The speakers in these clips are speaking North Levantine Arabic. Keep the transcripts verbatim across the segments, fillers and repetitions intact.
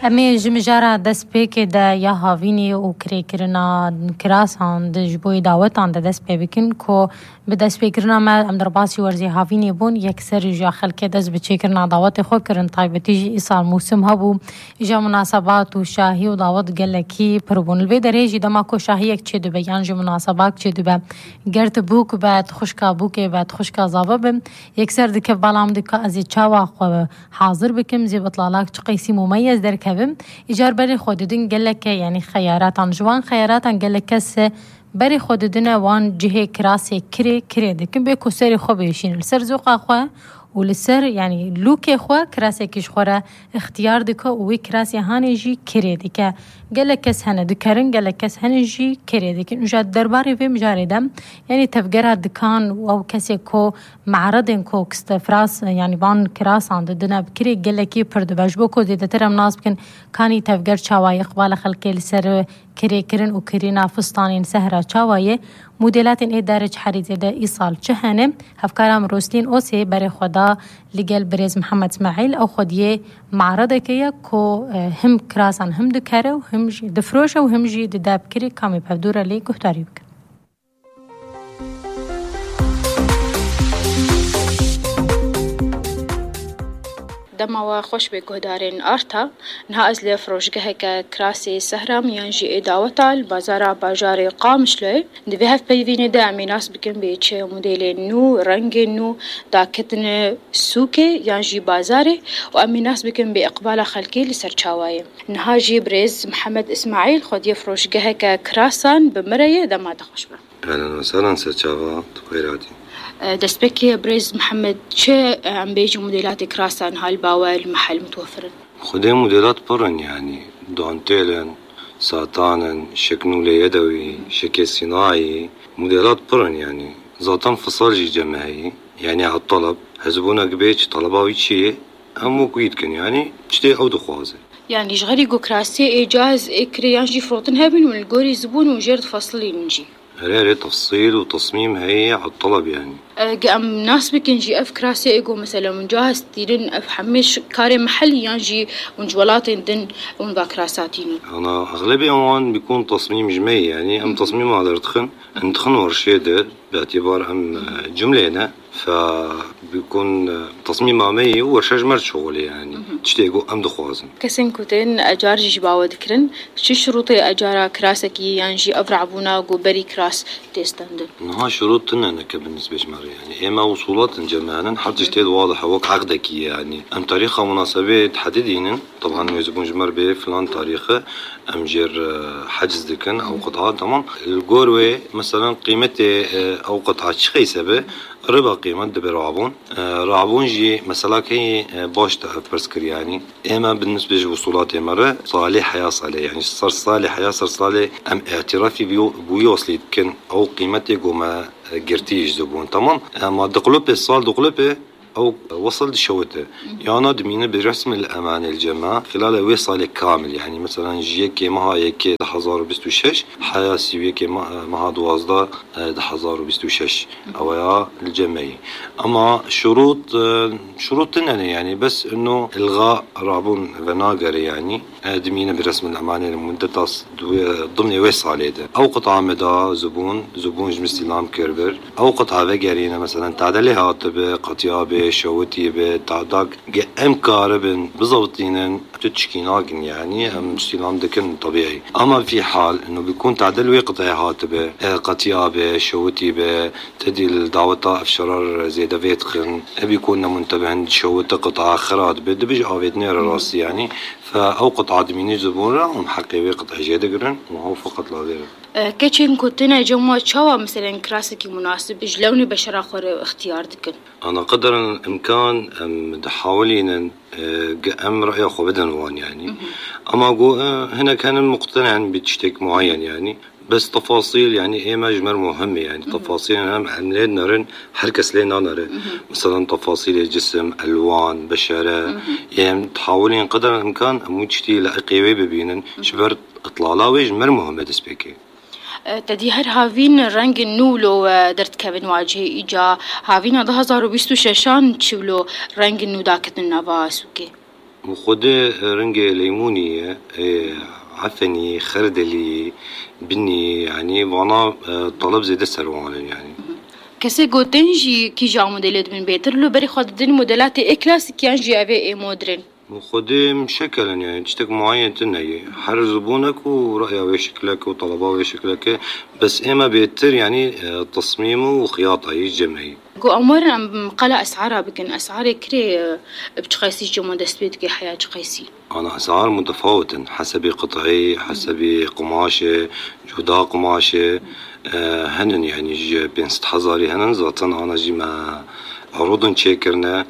امي جمجارة دست بيكي دا يا هافيني و كريكرنا كراسان دا جبوي داوتان دا دست بي بكن كو بدست بيكرنا ما ام درباسي ورزي هافيني بون يكسر جا خلقه دست بچيكرنا داوت خو کرن طيبتي جي ايصال موسم هبو اجا مناسبات و شاهي و داوت گلکی پربون الوی دريجي دما كو شاهي اك چه دو یان جو مناسبات چه دو گرت بوک بعد خوشکا بوک بعد خوشکا زابب يكسر دك بالام دك ازي چاوا حاضر بكم زي بطلالاك چقيسي مميز در كبم اجار بري خوددن گلک يعني خياراتان جوان خياراتان گلک کس بري خوددن وان جهه كراسي كري كري دكم بيكو سري خو بيشين السر زوقا خو ولسر يعني لوكي خو كراسي كيش خورا اختيار دكو وي كراسي هاني جي كري دكا گلک کس هنه دکرن گلک کس هنه جي كري دكن وجاد درباري في مجاردم يعني تفجرها دكان او كسي كو معرضن كو كستفراس يعني بان كراس عند دنا بكري گلکی پرد بجبوكو دي ترم ناس بكن كاني تفجر چاواي اقبال خلقي لسر كري كرن و كرينا فستانين سهرة چاواي موديلات اي دارج حريزه دا ايصال چهنه هفكارام روسلين اوسي بري خدا لگل بريز محمد اسماعيل او خديه معرضه كيا كو هم كراسان هم دكره و هم جي دفروشه و هم جي داب كري كامي بهدوره لي گفتاري بك دما خوش به گهدارین آرتا نها از لی فروشگاه که کراسی سهرم یانجی اداوتا البازار باجار قامشلوی دوی هف پیوینه دا امیناس بکن به چه مدل نو رنگ نو دا کتن سوکه یانجی بازاره و امیناس بکن به اقبال خلقی لسرچاوای نها جی بريز محمد اسماعیل خودی فروشگاه که کراسان بمرایه دما دخوش با اهلا وسهلا سرچاوا تخيراتي دست بكي بريز محمد چه عم بيجي موديلات كراسان هالباوة المحل متوفرن؟ خدي موديلات برن يعني دانتيلن ساتانن شكنولة يدوي شكل صناعي موديلات برن يعني ذاتن فصال جي جماعي يعني على الطلب هزبونا قبيج طلباوي شيء همو كويتكن يعني شتي او دخوازه يعني جغري جو كراسي اجاز اكريان جي فروتن هابن والجوري زبون وجرد فصلي نجي هريري تفصيل وتصميم هي على الطلب يعني قام ناس بكن جي اف كراسي ايجو مثلا منجاهز تيرن اف حمش كاري محلي ينجي ونجولاتين دن ونبا كراساتين انا اغلبي اوان بيكون تصميم جمعي يعني ام تصميم هذا ردخن ندخن ورشيدر باعتبار ام جملة فبيكون تصميم عمي ورشاج مرد شغل يعني تشتيقو ام دخوازن كسن كوتين اجار جي باوا ذكرن شو شروطي اجارة كراسكي ينجي افرع بونا جو بري كراس تيستندن ها شروط انك بالنسبة جمري يعني اما وصولات جمعنا حتى جتيد واضح وك عقدك يعني ام تاريخها مناسبة تحددين طبعا يزبون جمر به فلان تاريخه ام جير حجز دكن او قطعة طبعا الجوروي مثلا قيمته او قطعة شخي سبه ربا قيمة دبي رعبون رعبون جي مثلا كي باش تفرسكر يعني اما بالنسبة لوصولات مرة صالح حياة صالح يعني صار صالح حياة صار صالح ام اعترافي بيو بيوصلي كن او قيمتي قوما قرتيج زبون تمام اما دقلوبي الصال دقلوبي أو وصل شوته يعني دمينه برسم الأمانة الجماعة خلال وصل كامل يعني مثلا جيك مها يك حزار وبستو شش حياسي ويك مها دوازده حزار وبستو شش أو يا الجمعي أما شروط شروطنا يعني بس إنه إلغاء رابون فناجر يعني دمينه برسم الأمانة لمدة ضمن وصل هذا أو قطعة مدى زبون زبون جمس لام كيربر أو قطعة فجرينا مثلا تعدلي هاتب قطيابة شوتي بتعداق ام كاربن بزبطينن تشكيناقن يعني ام استلام دكن طبيعي اما في حال انه بيكون تعدل وقطع هاتبه قطيابه شوتي بتدي الدعوه افشرار زي فيتخن بيكون منتبهن شوت قطع اخرات بده بيجي اويتنير راسي يعني فاو قطعه دميني زبونه ومحقق قطع جيدقرن وهو فقط لا غير كيتشن كنتنا جمع شوا مثلا كراسكي مناسب جلوني بشرا خور اختيار دكن انا قدر الامكان دحاولين ام راي اخو بدن وان يعني اما جو هنا كان مقتنع بتشتك معين يعني بس تفاصيل يعني ايه مجمر مهمة يعني تفاصيل هم عملين نرن حركس لينا نرن مثلا تفاصيل الجسم الوان بشرة يعني تحاولين قدر الامكان موجتي لقيوي ببينن شبر اطلالاوي جمر مهمة دسبيكي تدي هر هاوين رنگ نولو درت كابن واجه إيجا هاوين هذا هزار وبيستو ششان تشولو رنگ نو داكت النباس وكي وخده رنجة ليمونية عفني خردلي بني يعني وانا طلب زي السروان يعني كسي جوتنجي كي جا موديلات من بيتر لو بري خد دين موديلات اي كلاسيك يعني جي افي اي مودرن وخده مشكلا يعني تشتك معين تنهي حر زبونك ورأيه وشكلك وطلبه وشكلك بس اما بيتر يعني تصميمه وخياطه يجمعي جو امور عم قلع اسعارها بكن اسعار كري بتقيسي جمو دستبيت كي حياة تقيسي انا اسعار متفاوتة حسب قطعي حسب قماشة جودة قماشة آه هنن يعني جي بين ست حزاري هنن زاتن انا جي ما عروضن تشيكرنا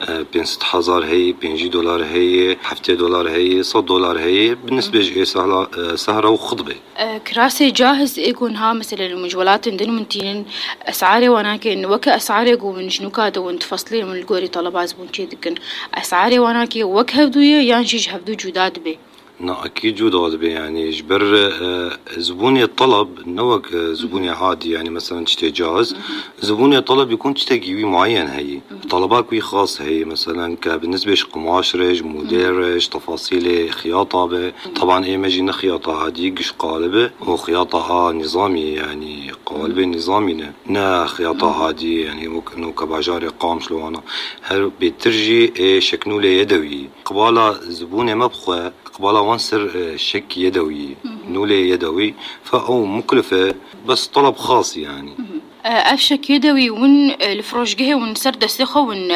آه بين ست حزار هي بين دولار هي حفتة دولار هي صد دولار هي بالنسبة جي سهرة آه سهرة وخطبة آه كراسي جاهز يكون ها مثلا المجولات عندن منتين اسعاري وانا كن وكا اسعاري جو من شنو كادو وانت فصلين من الجوري طلبات بون تشيدكن اسعاري وانا كي وك هفدوية يعني جيج هفدو جودات بي لا أكيد جودات بي يعني جبر زبوني الطلب نوك زبوني عادي يعني مثلا تشتي جاهز زبوني الطلب يكون تشتي جيبي معين هي طلبات كوي خاص هي مثلا كبالنسبة قماش رج موديل رج تفاصيل خياطة بي طبعا ايه ما جينا خياطة عادي قش قالبة وخياطة نظامي يعني قالبة نظامي نا خياطة عادي يعني نوك باجاري قام شلو انا هل بترجي ايه شكنولة يدوي قبالة زبوني ما بخوة قبالة وانسر شك يدوي نولة يدوي فأو مكلفة بس طلب خاص يعني أفشك يدوي ون الفروش جهة ون سرد سخة ون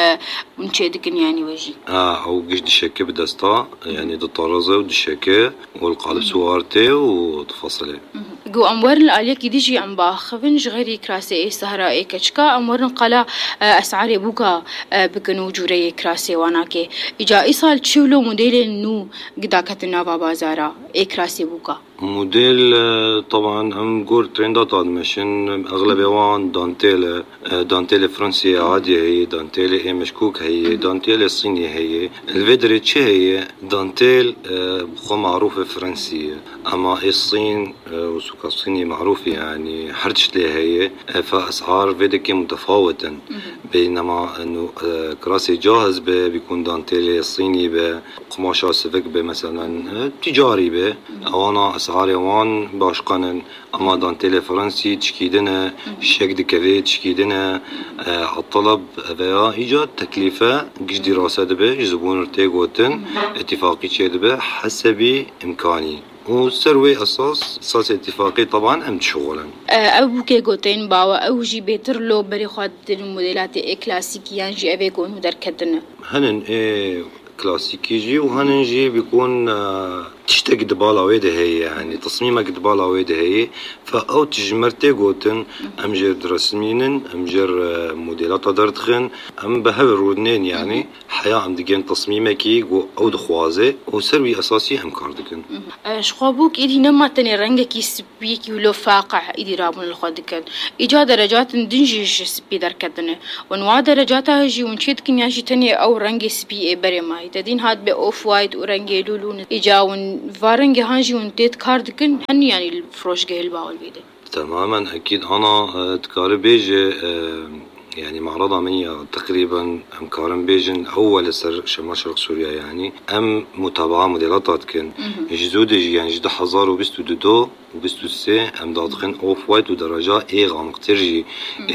ون شيدكن يعني وجي آه أو جش دشكة بدستا يعني دطارزة ودشكة والقالب سوارته وتفصله جو أمور الآلية كديجي عم باخفنج غيري كراسي إيه سهرة إيه كشكا أمور قلا أسعار بوكا بكنو جوري كراسي واناكي إجا إيصال تشولو موديل نو قدا كتنا بازارا إيه كراسي بوكا موديل طبعا ام جور ترندات مشن اغلب وان دانتيل دانتيل فرنسية عادية هي دانتيل اي مشكوك هي دانتيل الصينية هي الفيدري تشي هي دانتيل بخو معروفة فرنسية اما الصين وسوق الصيني معروفة يعني حرتش لي هي فاسعار فيديكي متفاوتة بينما انه كراسي جاهز بيكون دانتيل الصيني بقماشة سفك مثلا تجاري به او انا اسعار وان باشقانن اما دانتيل فرنسي تشكيدنا شك دكافي تشكيدنا الطلب فيا ايجاد تكلفة قش دراسة دبه زبون ارتيقوتن اتفاقي تشي دبه حسب امكاني وسروي اساس اساس اتفاقي طبعا ام شغلا ابو كي جوتين باوا او جي بيتر لو بري خد الموديلات اي كلاسيكيان جي افي كون دركدنا هنن اي كلاسيكي جي وهننجي بيكون تشتاق دبالة ويده هي يعني تصميمك دبالة ويده هي فأو تجمرتي قوتن أمجر درسمينن أمجر موديلات دردخن أم بهاور رودنين يعني حياة أم دقين تصميمكي أو دخوازي وسروي أساسي أم كاردكن شخابوك إدي نما تاني رنجكي سبيكي ولو فاقع إدي رابون الخدكن إجا درجات دنجيش سبي دركدنه ونوع درجاتها هجي ونشيدكن ياشي تاني أو رنجي سبي بري ماي تدين هاد بأوف وايت ورنجي لولون إجا ون فارنجي هانجي ونتيت كاردكن هن يعني الفروش جه الباول بيده تماما أكيد أنا تكاري بيجي يعني معرضة مني تقريبا أم كارم بيجن أول سر شمال شرق سوريا يعني أم متابعة موديلاتات كن جزود يعني جدا حزار وبستو دو وبستو سي أم دادخن أوف وايت ودرجة إيه غامق ترجي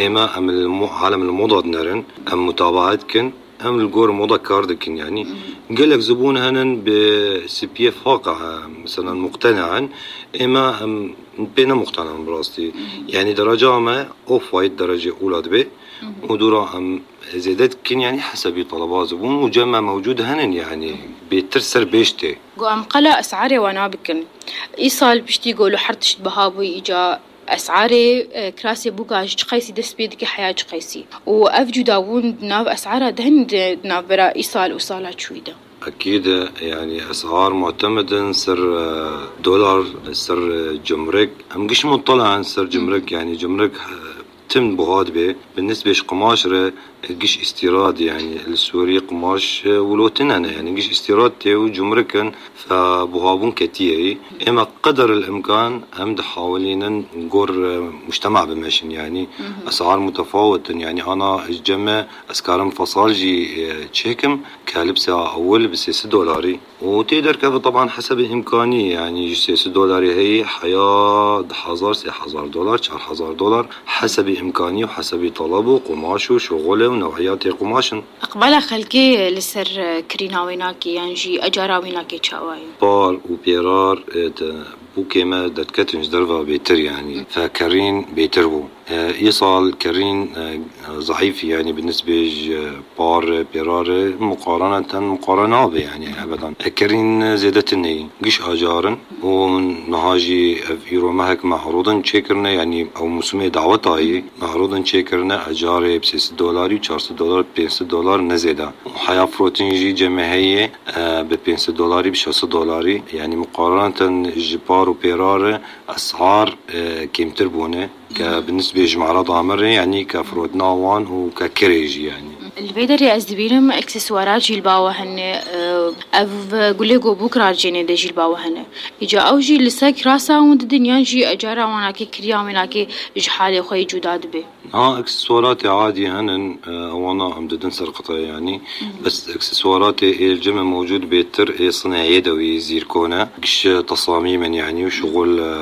إما أم المو عالم الموضة نرن أم متابعات كن أم الجور موضة كاردكن يعني قال لك زبون هنن بسي واقع مثلا مقتنعا إما أم بينا مقتنع براستي يعني درجة ما أوف وايت درجة أولى دبي ودورا أم زيادات كن يعني حسب طلبات زبون وجمع موجود هنن يعني بيترسر بيشتي جو أم قلا أسعاري وانا بكن إيصال بشتي يقولوا حرتشت بهابوي إجا أسعاري كراسي بوكاج تقيسي دس بيدك حياة تقيسي وأفجو داوون ناف أسعارها دهن ناف برا إيصال وصالات شويدة أكيد يعني أسعار معتمدة سر دولار سر جمرك هم قش مطلع عن سر جمرك يعني جمرك تم بغاد به بالنسبة قماشرة قش استيراد يعني السوري قماش ولوتننا يعني قش استيراد تيو جمركن فبهابون كتيري اما قدر الامكان هم حاولين نقول مجتمع بمشن يعني اسعار متفاوتة يعني انا الجمع اسكارم فصالجي تشيكم كلبسة اول بسيس دولاري وتقدر كيف طبعا حسب الامكانية يعني سيس دولاري هي حياة حزار سي حزار دولار شهر حزار دولار حسب امكانية وحسب طلبه قماشه وشغله ونوعيات قماشن اقبل خلقي لسر كريناويناكي يعني جي اجاراويناكي تشاوي بار وبيرار بوكي ما دتكتنج درفا بيتر يعني فكرين بيتربو إيصال كرين ضعيف يعني بالنسبة بار بيرار مقارنة مقارنة به يعني أبدا كرين زيادتني قش أجارن ونهاجي فيرو مهك معروضا تشيكرنا يعني أو مسمى دعوتاي معروضا تشيكرنا أجاري بسيس دولاري وشارس دولار بينس دولار نزيدا وحياة فروتينجي جماهية ببينس دولاري بشاس دولاري يعني مقارنة جبار وبيرار أسعار كيمتر بونه بالنسبة لجمعرة ضامر يعني كفروت ناوان وككريجي يعني اللي بيقدر أزدبينهم إكسسوارات جيلباوة هن أف قوليقو بكرة جيني دا جيلباوة هن إجا أوجي لساك راسا وند دنيا جي أجارة واناكي كريا ومناكي جحالي خوي جوداد بي اه اكسسواراتي عادي هنن وانا امددن سرقطة يعني بس اكسسواراتي الجمع موجود بيتر صناعي يدوي زيركونا قش تصاميما يعني وشغل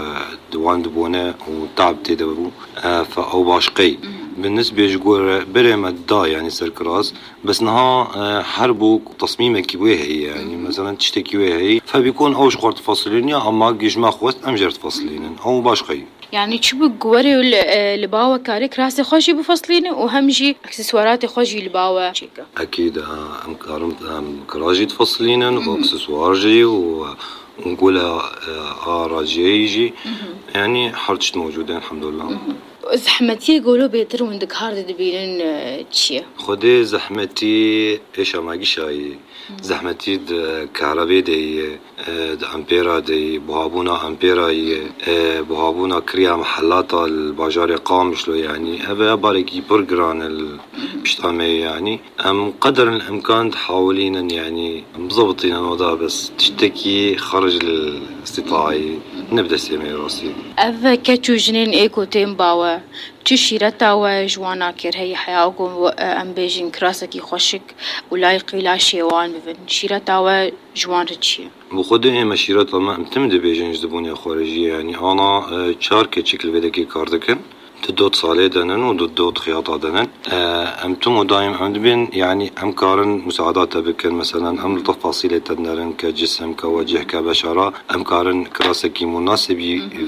دوان دبونا وتعب تدبو فأو باشقي بالنسبة جوار بريم الدا يعني سركراس بس نها حربو تصميمه كيوهي يعني مثلا تشتكي وهي فبيكون أوش قرط فصلين أما جيجما خوست أمجرت فصلين أو باشقي يعني تشبه جواري لباوة كاريك راسي خوشي بفصلينه وهمجي اكسسواراتي خوشي لباوة شيكا أكيد أم كارم أم كراجي تفصلينه وأكسسوارجي ونقولها آراجيجي يعني حرجت موجودين الحمد لله. زحمتي يقولوا بيتر وندك هارد دبينن تشي خدي زحمتي ايش ما قشاي زحمتي كهرباء دي امبيرا دي بوابونا امبيرا بوابونا كريا محلات الباجار قامش له يعني ابا باركي برجران البشتامي يعني ام قدر الامكان تحاولين يعني مضبطين الوضع بس تشتكي خرج الاستطاعي نبدا سيمي راسي اف كاتشو جنين ايكو تيم باوا تشيرتا وجوانا كير هي حياوكم ام بيجين كراسكي خوشك ولايقي لا شيوان بفن شيرتا وجوان رتشي بخده مشيرات ما امتمد بيجين جذبوني خارجية يعني انا شاركة شكل بدكي كاردكن تدوت صالة دنن ودوت خياطة دنن امتم دايم عندبين يعني امكارن مساعدات بكن مثلا ام تفاصيل تدنرن كجسم كوجه كبشرة امكارن كراسكي مناسب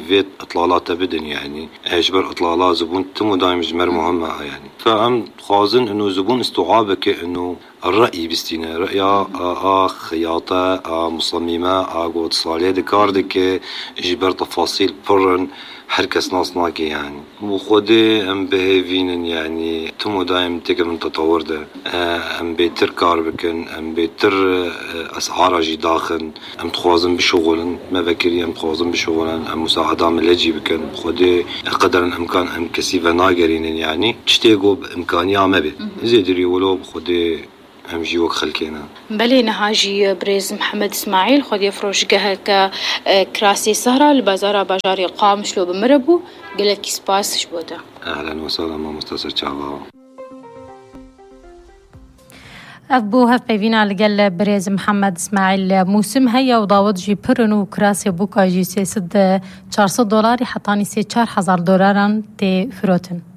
فيت اطلالات بدن يعني اجبر اطلالات زبون تم دايم جمر مهمة يعني فام خازن انه زبون استوعابك انه الرأي بستينا رأيا آه خياطة آه مصممة آه قوت صالة دكاردك جبر تفاصيل برن حركة ناصناكي يعني وخدي ام بهيفين يعني تمو دايم تكر من تطور ده ام بيتر كاربكن ام بيتر اسعار جي داخل ام تخوازن بشغلن ما بكري ام تخوازن بشغلن ام مساعدة من لجي بكن خدي قدر الامكان ام كسيفة ناقرين يعني تشتيقوا بامكانية ما بي زيدري ولو بخدي هم جيوك خلكينا بلي نهاجي بريز محمد اسماعيل خد يفرش جهك كراسي سهرة البازارة باجاري قامش لو بمربو قلك سباس شبوتا اهلا وسهلا ما مستسر تشابا أبو هف بيفينا لقل بريز محمد اسماعيل موسم هيا وضاوت جي برنو كراسي بوكا جي سيسد چهارصد دولاري حطاني سي چهار هزار دولاران تي فروتن